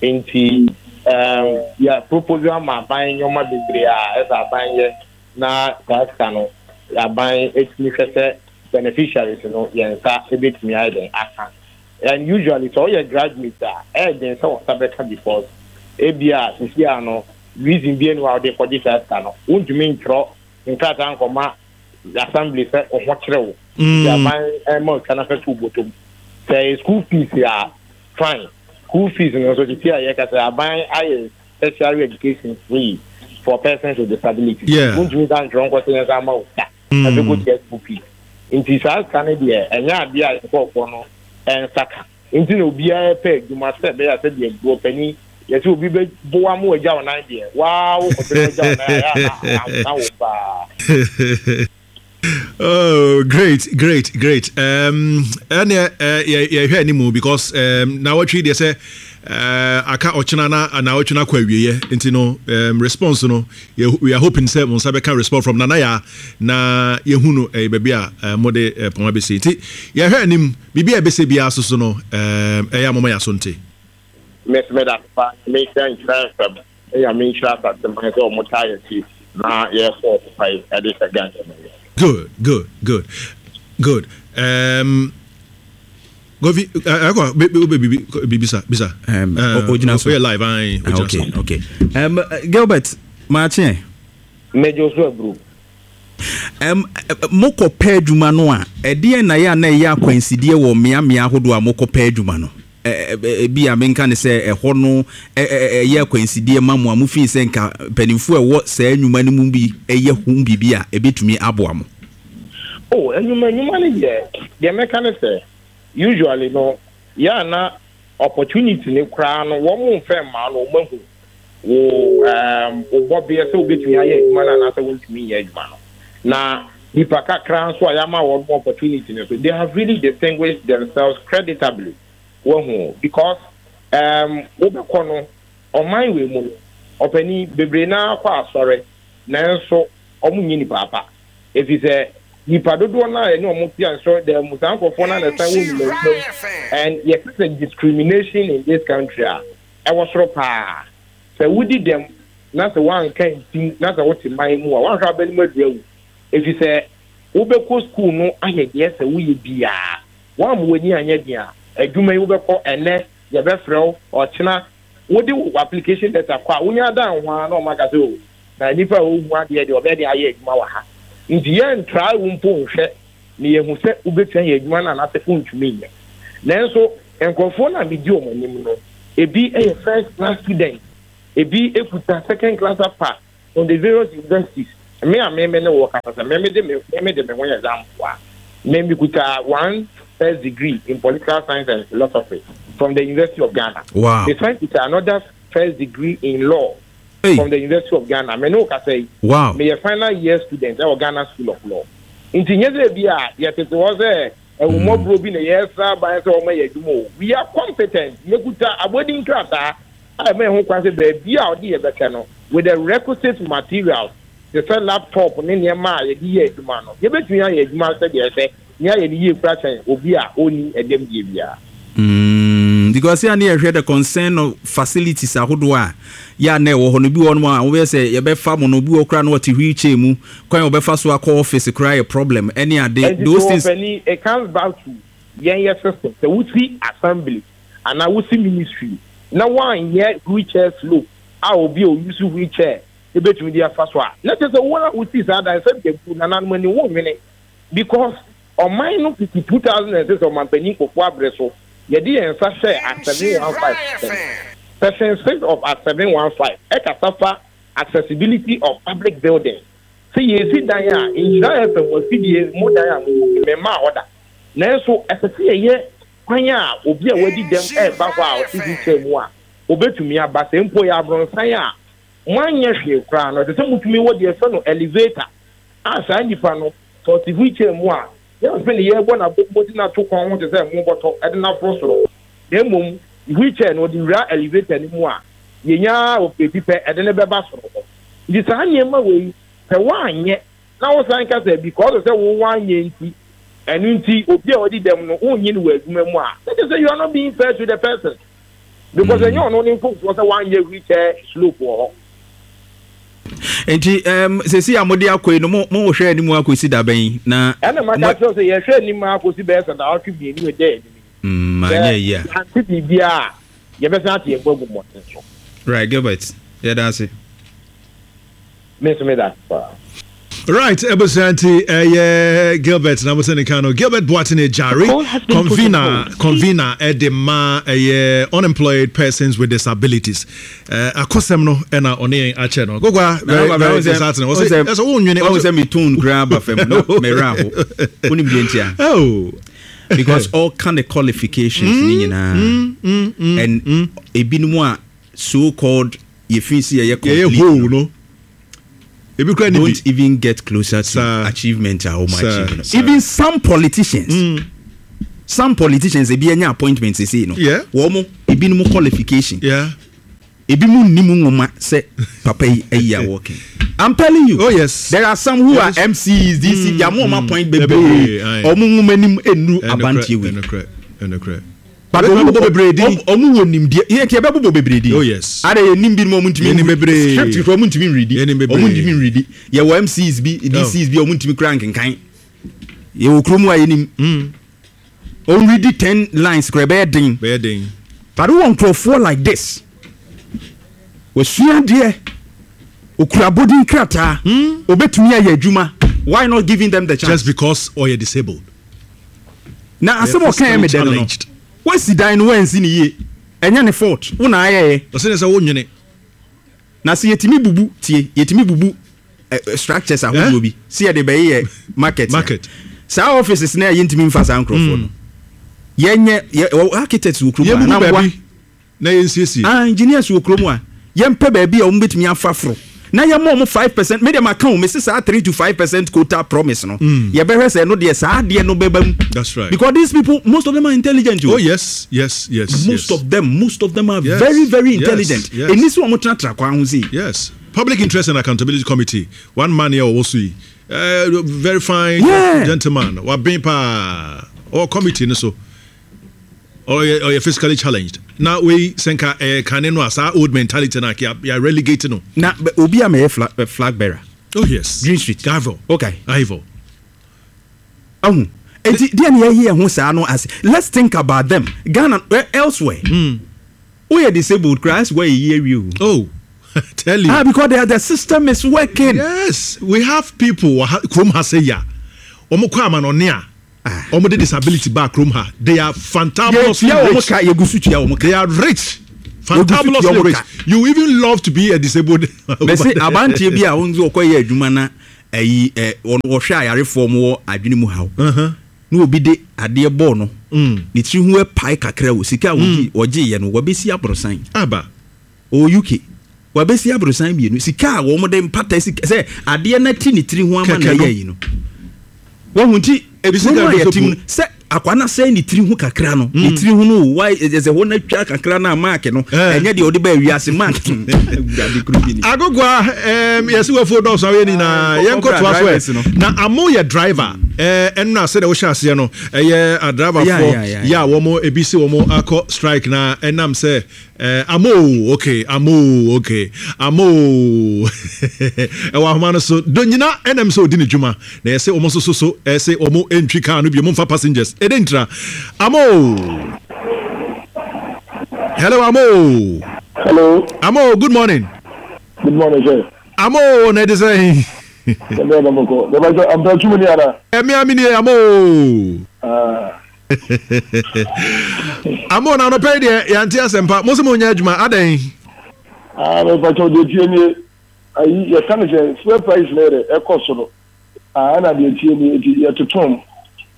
Nti um, yɛ propose ama aban nneɛma bebree a ɛsɛ aban yɛ na saa sika no aban etumi hwɛ sɛ beneficiaries no yɛn nsa ebetumi ayɛ dɛn aka. And usually sɛ ɔyɛ graduate a ɛyɛ den sɛ wɔn nsa bɛka because ebi a sisi a no reason bi enu a wɔde kɔgye saa sika no wontumi ntwerɛ nkrataa nkɔma assembly sɛ ɔho kyerɛ wo nti aban ɛma otwa na fɛ to bɔtɔm sɛ ɛyɛ school fees a fine school fees no nso tete a yɛka sɛ aban ayɛ tertiary education free for persons with disability wontumi sa ntwerɛ nkɔ sɛ yɛn nsa ama wo sika na fɛ kɔtua school fees nti saa sika no deɛ ɛnyɛ adeɛ a nkurɔfoɔ no ɛnsa ka nti na obiara pɛ adwuma sɛ ɛbɛyɛ a sɛdeɛ buropanin yɛsɛ obi bɛ boa mo agya wo nan deɛ waa wo kɔtɔ no agya wo nan a yɛ a na wo paa. Oh, great, great, great. Um, ɛnɛ yɛhwɛ anim because um, na wɔtwe deɛ sɛ uh, aka ɔkyena na na ɔtwe no akɔ awieɛ nti no um, response no we are hoping sɛ mo nsa bɛka response from Nana Yaa na yɛhu no ɛyɛ baabi a uh, mode uh, pɔn abɛsi nti yɛhwɛ anim biribi a ɛbɛsɛ biara so so no um, ɛyɛ a moma yɛ aso nte. Miss meda pa mehyɛ nkyerɛ nsɛm Nyame nhyira asase man sɛ ɔmo taa yɛkyi na yɛkɔ ɔko pa yi ɛde hyɛ Ghana mu yɛ. Good good good good um, Govi ɛkɔ bɛ bibi bibi sa bisa. Um, ogyina so. Oyɛ live ayi ogyina so. Okay okay. Um, Gilbert maakye. Mɛgye so aburu. Um, mokɔ pɛ adwuma no a, ɛdeɛn na yɛ a na ɛyɛ akwansideɛ wɔ mmeammea ahodoɔ a mokɔ pɛ adwuma no? Ebia menka no sɛ ɛhɔ no yɛ akwansideɛ ma mo a mofii sɛ nka mpanimfoɔ a ɛwɔ saa nnwuma no mu bi yɛ ho biribi a ɛbɛtumi aboa mo. Oh, nnwuma nnwuma no deɛ, deɛ mɛka ne sɛ, usually no, yɛ a na opportunity no koraa no wɔn mfa mmaa no, wɔn ahu wo um, wo bɔbeɛ sɛ wobɛtumi ayɛ adwuma no anaasɛ wontumi nyɛ adwuma no. Na nipa kakra nso a yɛama wɔn opportunity no so, they have really distinguished themselves creditably. Wahu because um, wobɛkɔ no, ɔman wei mu no, ɔpanin bebree naa kɔ asɔre, nanso wɔn nyɛ nipa apa. Efisɛ nipa dodoɔ no a yɛne wɔn te asɔredan mu, saa nkurɔfoɔ no a na ɛsan wɔ nnwuma mu. And yɛka sɛ discrimination in this country a, ɛwɔ soro paa. Sɛ wodi dɛm na sɛ woanka ntim na sɛ wote man mu a, woanhwɛ a wobɛnom aduru awu. Efisɛ wobɛkɔ sukuu no ayɛ deɛ ɛsɛ woyɛ biara. Woamma w'ani anyɛ den a, adwuma yi wobɛkɔ ɛnnɛ, yɛbɛfrɛ wo, ɔkyena wode wo application letter kɔ a, wonya dan ho ara na wɔaka sɛ oh, na nipa a ɔhu adeɛ deɛ ɔbɛyɛ den ayɛ adwuma wɔ ha. Nti yɛntrae wo mpo nhwɛ na yɛahu sɛ wobɛtumi ayɛ adwuma no anaasɛ wontumi nyɛ. Nanso nkurɔfoɔ no a medi wɔn anim no, ebi yɛ first class student, ebi kuta second class upper on the various universities. Me a me me ne wo kasa sɛ me mede me me mede me ho yɛ example a, me mekuta one first degree in political science and philosophy from the University of Ghana. Wow. Mesan kuta another first degree in law Hey. from the University of Ghana. Me ne wo kasa yi, Wow. meyɛ final year student ɛwɔ Ghana School of Law. Nti nyɛ sɛ bi a yɛtete hɔ sɛ ahummɔborɔ bi na yɛsra aban sɛ wɔma yɛ adwuma o. We are competent. Yɛkuta abɔdin krataa a ɛma yɛn ho kwan sɛ baabi a ɔde yɛ bɛkyɛ no, with the requisite materials te sɛ laptop ne nneɛma a yɛde yɛ adwuma no, yɛbɛtumi ayɛ adwuma sɛdeɛ ɛsɛ na yɛayɛ no yie koraa kyɛn obi a ɔnni ɛdɛm die biara. Mm, because yɛ a na yɛhwɛ the concern of facilities ahodoɔ a yɛ a na ɛwɔ hɔ no, bi wɔ hɔnom a wobɛyɛ sɛ yɛbɛfa mo no, obi wɔ hɔ koraa na ɔte wheelchair mu, kwan a ɔbɛfa so akɔ office koraa yɛ problem ɛne ade, Ɛnti those so things. ɔpanin, it comes back to yɛn yɛ system, sɛ wosi assembly anaa wosi ministry na woanyɛ wheelchair slope a obi a ɔuse wheelchair bɛtumi de afa so a, na kyerɛ sɛ wo a wosii saa dan sɛ bɛbu nananom ani, wonnwene because ɔman no fiti 2006 ɔmanpanin Kufuor abere so yɛde yɛn nsa hyɛɛ Act 715 ase no. Section 6 of Act 715 ɛkasa fa accessibility of public buildings. Sɛ yɛresi dan a, Nhyira FM afidie mo dan a mowɔ mu, memmaa hɔ da. Nanso ɛsɛ sɛ yɛyɛ kwan a obi a wadi dɛm reba hɔ a ɔte wheelchair mu a, obetumi aba. Sɛ mpo ɛyɛ abrɔnsan a, moanyɛ hwee koraa no, ɛsɛ sɛ motumi wɔ deɛ yɛfrɛ no elevator a saa nipa no, sɛ ɔte wheelchair mu a, yɛmfe no yɛrebɔ no abom de no ato kɔn ho te sɛ mobɔtɔ de no aforo soro, na mmom wheelchair no, ɔde wura elevator no mu a, yɛnya ara operate pɛ, ɛde no bɛba soro hɔ. Nti saa nneɛma wei, sɛ woanyɛ na wosan ka sɛ because sɛ wo woanyɛ nti, ɛno nti obi a wadi dɛm no wonnye no wɔ adwuma mu a, na kyerɛ sɛ you are not being fair to the person. Because ɛnyɛ ɔno ne mfomsoɔ sɛ woanyɛ wheelchair slope wɔ hɔ. Nti um, sɛsi a mode akɔ yi no mo mohwɛ anim akɔsi da bɛn na. Ɛna maka kyerɛ sɛ yɛhwɛ anim akɔsi bɛyɛ sɛ naawɔtwe mmienu ɛda anim yi. Anyɛ yie a. Sɛ yɛante biribiara a, yɛbɛsan ate yɛn bo agu mmɔnten so. Right, Gilbert, yɛda ase. Me nso meda ase paa. Right, abusua nti ɛyɛ Gilbert na mo sɛ ne kan no Gilbert Boateng Ejari convener convener ɛde ma ɛyɛ unemployed persons with disabilities akɔsɛm no ɛna ɔne yɛn akyɛ no gogwa very very disheartening ɔsɛ ɛsɛ wo nwene ɔsɛ sɛ me tone koraa ba fam na mɛwerɛ aho wonim deɛ ntia oh because all kind of qualifications ne nyinaa and ebinom a so called yɛfii sɛ yɛyɛ complete whole no ebi kura ni bi don't even get closer to achievement a wɔn achieve no even some politicians mm. some politicians ebi anya appointment sese no wɔn ebinom qualification yeah. ebi mu nni mu nwoma sɛ papa yi ayi a wɔkɛ I'm telling you. Oh yes. There are some who are MCs, DC, mm, yamu mm, appoint bebree. Ɔmo nwoma nim enu abantie wei. Ɛnukurɛ, ɛnukurɛ. But ɔmo bobɔ bebree din. Ɔmo wɔ nimdeɛ. Yɛ nti yɛbɛ bobɔ bebree din. Oh yes. Ada yɛ nim binom ɔmo ntumi. Yɛ nim bebree. Script kura ɔmo ntumi nredi. Yɛ nim bebree. Ɔmo ntumi nredi. Yɛ wɔ MCs bi, DCs bi ɔmo ntumi kura nkenkan. Yɛ wɔ kurom a yɛ nim. Mm. Ɔnredi ten lines kura ɛbɛyɛ den. Bɛyɛ den. But wowɔ nkurɔfoɔ like this. Wasua adeɛ. Okura abodin krataa. Mm. Obetumi ayɛ adwuma. Why not giving them the chance? Just because ɔyɛ disabled. Na asɛm a ɔkaeɛ me dɛ no no, woasi dan no woansi no yie, ɛnyɛ ne fault, wo na ayɛeɛ. Ɔsɛ ne sɛ wo nwene. Na sɛ yɛtumi bubu, tie, yɛtumi bubu eh, eh, structures ahodoɔ eh? bi, sɛ yɛde bɛyeyɛ market. Market. Saa offices no a yɛntumi mfa saa nkurɔfoɔ no. Yɛnyɛ, yɛ, architects wɔ kurom a, na mboa. Na yɛnsiesie. Ah engineers wɔ kurom a, yɛmpɛ baabi a wɔn bɛtumi afa foro na yɛma wɔn 5%, me deɛ maka o, mese saa 3 to 5% quota promise no, yɛbɛhwɛ sɛ ɛno deɛ saa adeɛ no bɛba mu. That's right. Because these people, most of them are intelligent o. Oh yes, yes, yes. Most yes. of them, most of them are yes. very, very yes. intelligent. Yes. Ɛni sɛ wɔn tenatena kwan ho sei. Yes. Public Interest and Accountability Committee, one man here ɔwɔ so yi, uh, very fine yeah. gentleman, waben paa, ɔwɔ committee no so. Ɔyɛ ɔyɛ physically challenged na wei sɛ nka ɛyɛ kane no a saa old mentality no a yɛ yɛ relegate no. Na obi a mɛyɛ flag eh, flag bearer. Oh yes. Green Street. Ivor. Okay. Ivor. Ahu. Eti deɛ na yɛyɛ ho saa no ase. Let's think about them. Ghana eh, elsewhere. Mm. Woyɛ disabled koraa ɛsɛ wɔyɛ yie awie o. Oh. Tell you. Ah, because the, the system is working. Yes, we have people wɔ ha kurom ha sɛ ya. Wɔn kɔ amanɔne a. Wɔn de disability baa kurom ha. They are fantabulously Yɛtua wɔn rich. ka, yɛgu so tua wɔn ka. They are rich. Yɛgu so tua Fantabulously wɔn rich. ka. You even love to be a disabled. Mese abanteɛ bi a wɔn nso ɔkɔyɛ adwuma na ayi ɛ wɔn wɔhwɛ ayarefoɔ wɔn wɔ adwene mu haw. Na obi de adeɛ bɔɔ no. Ne tiri ho apae kakra o sika a wɔgye wɔgyeeɛ no wɔbɛsi aborosan. Aba. Ɔwɔ UK. Wabɛsi aborosan mmienu. Sika a wɔn de mpata sika sɛ adeɛ no ati ne tiri ho ama na ɛyɛ ayi no. Wahu nti ekurom a yɛte mu no sɛ akwa no asɛe ne tiri ho kakra no ne tiri ho no wa ɛsɛ hɔ no atwa kakra no a mark no ɛnyɛ deɛ ɔde baa wiase mark awurade kuro bi ni. Agogoa ɛɛm yɛsi wafuo dɔɔso awɛ nyinaa yɛn kɔ toa so ɛ na amo yɛ driver ɛɛ ɛnna sɛdeɛ wohyɛ aseɛ no ɛyɛ adriverfoɔ yɛ a wɔn ebi si wɔn akɔ strike na ɛnam sɛ Eh, amoo, okay, amoo, okay, amoo. Ɛwɔ ahoma no so. Donyina ɛnam sɛ ɔdi ne dwuma. Na yɛse wɔn nso so so ɛse wɔn ntwi kaa no bio, momfa passengers. Ɛdɛ ntira. Amoo. Hello, amoo. Hello. Amoo, good morning. Good morning, sir. Amoo, na ɛde sɛn? Ɛbɛyɛ na bɔkɔ. Bɛbɛ sɛ ampɛ tumi ni ana? Ɛmi amini amoo. Ah. Amo na anɔpɛ yi deɛ yɛante asɛmpa mo sɛ mo nyɛ adwuma adɛn. Ah, mepakyɛw deɛ tie nie. Ayi yɛka no sɛ fuel price no yɛ dɛ ɛkɔ soro ah ɛna deɛ ɛteɛ nie nti yɛtotom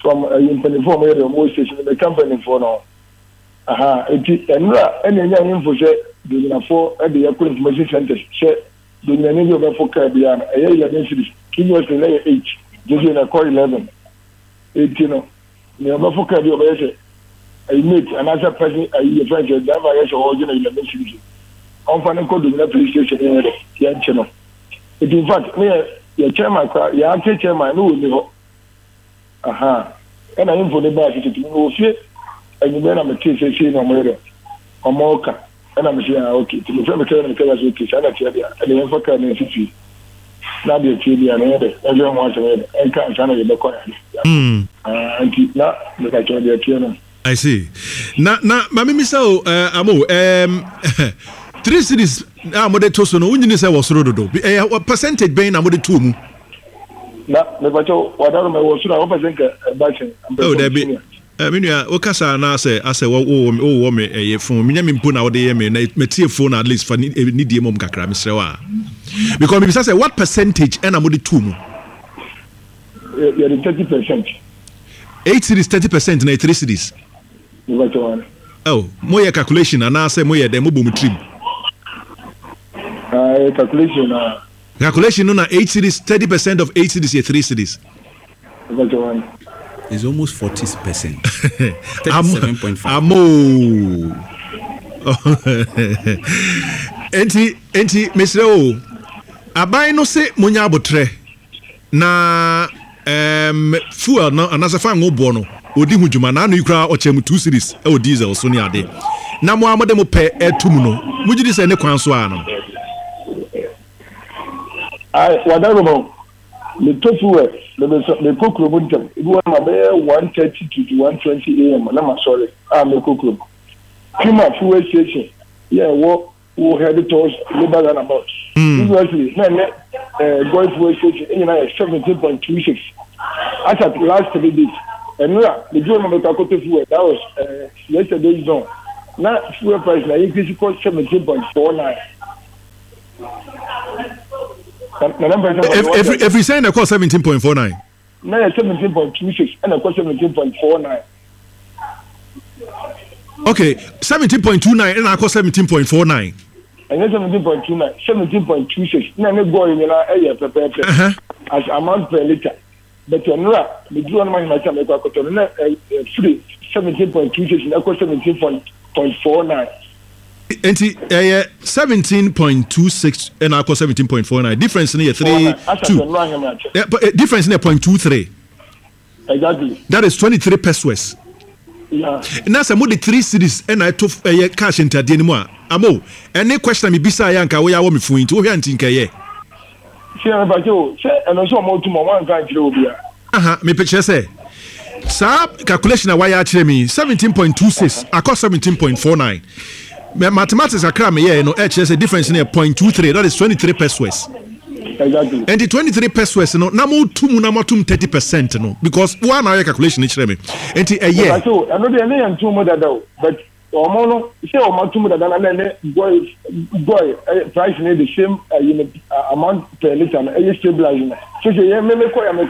from ayi mpanimfoɔ a wɔyɛ dɛ wɔwɔ station no meka mpanimfoɔ no ho aha nti ɛnora ɛna ɛnya info sɛ Donyinafoɔ de yɛkɔ information centers sɛ Donyinani bi a ɔbɛfo car biara no ɛyɛ 11 cedis previously na ɛyɛ 8 seesei na ɛkɔ 11 nti no Nea ɔbɛfo car bi a ɔbɛyɛ sɛ ayi mate anaasɛ person ayi yɛfrɛ no sɛ driver yɛ sɛ ɔregye no 11 cedis no, ɔmfa no nkɔ Domina police station ne yɛnyɛ dɛ yɛnkye no. Nti in fact ne yɛ yɛ chairman koraa yɛ acting chairman ne ɔnni hɔ. Ahaa ɛna info no baa sɛ tete me wɔ fie anwummerɛ na metee sɛ sei na ɔmo yɛ dɛ ɔmo ka ɛna mese ah okay nti mefrɛ me car na me car sɛ okay saa na ɛteɛ deɛ a ɛne yɛmfa car no nsi fie na deɛ ɛteɛ biara no ɛnyɛ dɛ yɛnhwɛ ho asɛm yɛ dɛ ɛnka ansa na yɛbɛkɔ yɛade ah nti na mepakyɛw deɛ ɛteɛ no. I see. Na na ma mimisa o eh, amo um, three cities a mode to so no wonyini sɛ wɔ soro dodo ɛyɛ percentage bɛn na mode too mu? Na mepakyɛw wadaro ma ɛwɔ soro a wopɛ sɛ nka ɛba kyɛn. Oh, dabi. Eh, me nua, wo kasa na asɛ asɛ wo wo wowɔ me ɛyɛ phone. Menyɛ me mpo na wode yɛ me na metie phone at least fa ni eh, die mom kakra mesrɛ wo a. Because mebisa sɛ what percentage ɛna mode too mu? Yɛde 30%. 8 cedis 30% na 3 cedis. Oh, moyɛ calculation anaasɛ moyɛ dɛn mobɔ mo tirim? Ah, calculation na. Calculation no na 8 cedis 30% of 8 cedis yɛ 3 cedis. It's almost 40%. 37.5. Amo. Enti enti mesrɛ o. Aban no se monya abotrɛ na um, fuel no anaasɛ fa ngo boɔ no ɔdi ho dwuma na ano yi koraa ɔkyɛ mu two series ɛwɔ diesel so ne ade na mo a mode mo pɛ ɛto mu no mogye di sɛ ne kwan so a no. Wadaroma Metɔ fuel na mesɔ mekɔ kurom ntɛm. Ebi wɔ hɔ a mabɛyɛ 1:30 to 1:20 am na masɔre a mekɔ kurom. Kuma fuel station yɛ ɛwɔ wo head towards Labour roundabout. Previously na ɛne eh, Goy fuel station nyinaa yɛ 17.26 as at last 3 days. Ɛnora meduru hɔ na mekɔ akɔtɔ fuel that was eh, yesterday's dawn na fuel price na increase kɔ 17.49. Ɛfiri sɛn na ɛkɔɔ 17.49? Na yɛ 17.26 ɛna ɛkɔ 17.49. Okay, 17.29 ɛna akɔ 17.49. Ɛnyɛ 17.29, 17.26 na ne gɔɔ nyinaa ɛyɛ pɛpɛɛpɛ as amount per litre. But nnora meduru hɔ nom ahemakye a mekɔ akɔtɔ no na ɛfiri 17.26 na ɛkɔ 17.49. Nti ɛyɛ 17.26 ɛna akɔ 17.49 difference no yɛ 3 2 difference no yɛ 0.23. Exactly. That is 23 pesos. Yeah. Na sɛ mo de 3 cedis ɛna ɛto ɛyɛ cash ntadeɛ no mu a amo ɛne question a mebisa yɛ anka woyɛ awɔ me fun yi nti wohwɛ a nti nkɛyɛ. Sɛ mepa kyɛw o, sɛ ɛno nso ɔmo tum ɔmo anka ankyerɛ obia. Aha, mepɛ kyerɛ sɛ saa calculation a wayɛ akyerɛ me yi, 17.26 akɔ 17.49. Mathematics kakra a meyɛɛ no ɛkyerɛ sɛ difference no yɛ 0.23, that is 23 pesos. Exactly. Nti 23 pesos no na mo tu mu na mo atum 30% no because wo a na ayɛ calculation no kyerɛ me. Nti ɛyɛ. Mepa kyɛw, ɛno deɛ ne yɛn tum mu dada o, but Wɔn no sɛ wɔn atum dada na na ɛne goi goi ɛyɛ price no the same ɛyi no amount per litre no ɛyɛ stabilize no sese yɛ meme kɔ yɛ mekɔ.